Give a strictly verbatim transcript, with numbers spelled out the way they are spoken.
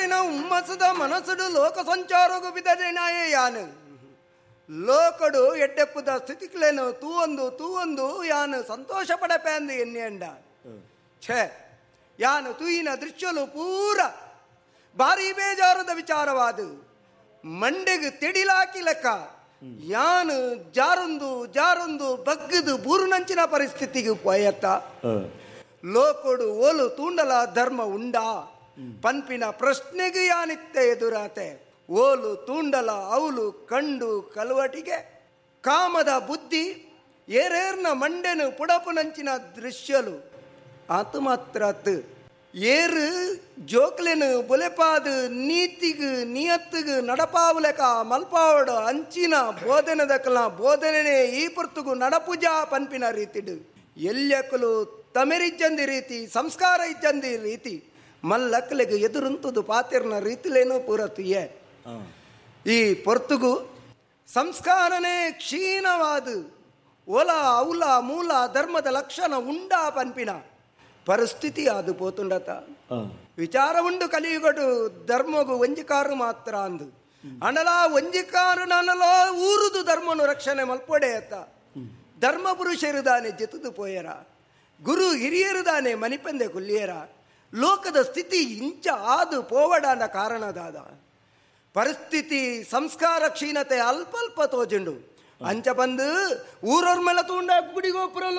ಪುಟ್ಟುದಾರಿನ ಹುಮ್ಮಸದ ಮನಸ್ಸುಡು ಲೋಕ ಸಂಚಾರಗು ಬಿದದಿನಾಯೇ ಯಾನು ಲೋಕಡು ಎಡ್ಡೆಪ್ಪುದ ಸ್ಥಿತಿಕ್ಲೇನು ತೂವೊಂದು ತೂವೊಂದು ಯಾನು ಸಂತೋಷ ಪಡಪೆ ಅಂದು ಎನ್ನೆಂಡ. ಛೇ, ಯಾನು ತೂಯಿನ ದೃಶ್ಯಲು ಪೂರ ಭಾರಿ ಬೇಜಾರದ ವಿಚಾರವಾದ ಮಂಡೆಗೆ ತೆಡಿಲಾಕಿ ಲೆಕ್ಕ ಯಾನು ಜಾರೊಂದು ಜಾರೊಂದು ಬಗ್ಗದು ಬೂರುನಂಚಿನ ಪರಿಸ್ಥಿತಿಗೆ ಪೋಯತ್ತ. ಲೋಕೊಡು ಓಲು ತೂಂಡಲ ಧರ್ಮ ಉಂಡಾ ಪನ್ಪಿನ ಪ್ರಶ್ನೆಗೆ ಯಾನಿತ್ತೆ ಎದುರಾತೆ. ಓಲು ತೂಂಡಲ ಅವಲು ಕಂಡು ಕಲುವಟಿಗೆ ಕಾಮದ ಬುದ್ಧಿ ಏರೇರ್ನ ಮಂಡೆನು ಪುಡಪುನಂಚಿನ ದೃಶ್ಯಲು ಆತು ಮಾತ್ರ ಏರು ಜೋಕ್ಲೆನು ಬುಲೆಪಾದ ನೀತಿಗು ನಿಯತ್ತಿಗು ನಡಪಾವಲೆಕ ಮಲ್ಪಾವಡು ಅಂಚಿನ ಬೋಧನೆದಕಲ ಬೋಧನೆ ಈ ಪೊರ್ತುಗು ನಡಪುಜಾ ಪನ್ಪಿನ ರೀತಿಡು ಎಲ್ಲಕ್ಕಲು ತಮೆರಿಜ್ಜಂದಿ ರೀತಿ ಸಂಸ್ಕಾರ ಇಜ್ಜಂದಿ ರೀತಿ ಮಲ್ಲಕ್ಕಲಿಗೆ ಎದುರುಂತುದು ಪಾತಿರ್ನ ರೀತಿಲೇನೂ ಪೂರತಿಯೇ. ಈ ಪೊರ್ತುಗು ಸಂಸ್ಕಾರನೇ ಕ್ಷೀಣವಾದ ಒಲ ಔಲ ಮೂಲ ಧರ್ಮದ ಲಕ್ಷಣ ಉಂಡಾ ಪನ್ಪಿನ ಪರಿಸ್ಥಿತಿ ಅದು ಪೋತುಂಡತ. ವಿಚಾರ ಉಂಡು ಕಲಿಯುಗಡು ಧರ್ಮಗು ಒಂಜಿಕಾರು ಮಾತ್ರ ಅಂದು ಅಣಲ ಒಂಜಿಕಾರು ನಾನಲ ಊರುದು ಧರ್ಮನು ರಕ್ಷಣೆ ಮಲ್ಪೊಡೆಯತ್ತ. ಧರ್ಮ ಪುರುಷರುದಾನೆ ಜೆತುದು ಪೋಯರ, ಗುರು ಹಿರಿಯರುದಾನೆ ಮನಿಪಂದೆ ಕುಲ್ಲಿಯರ. ಲೋಕದ ಸ್ಥಿತಿ ಇಂಚ ಆದು ಪೋವಡಾನ ಕಾರಣದಾದ ಪರಿಸ್ಥಿತಿ ಸಂಸ್ಕಾರ ಕ್ಷೀಣತೆ ಅಲ್ಪ ಅಲ್ಪ ತೋಜುಂಡು. ಅಂಚ ಬಂದು ಊರವ್ರ ಮೇಲೆ ತೂಂಡ ಗುಡಿಗೋಪುರಲು